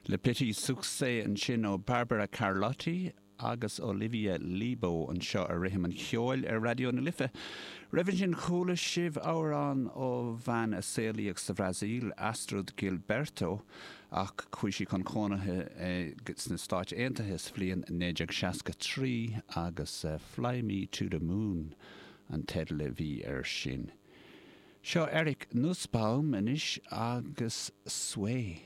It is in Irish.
Le Petit Succès ansin ó Barbara Carlotti agus Olivia Lebo anseo ar Rithim an Cheoil ar Raidió na Life. Roimhe sin chuala sibh amhrán ó bhean a saolaíodh sa Bhrasaíl, Astrud Gilberto, ach chuaigh sí chun cónaithe sna Stáit Aontaithe sa bhliain 1963 agus Fly Me to the Moon an teideal a bhí air sin. Seo Eric Nusbaum anois agus Sway.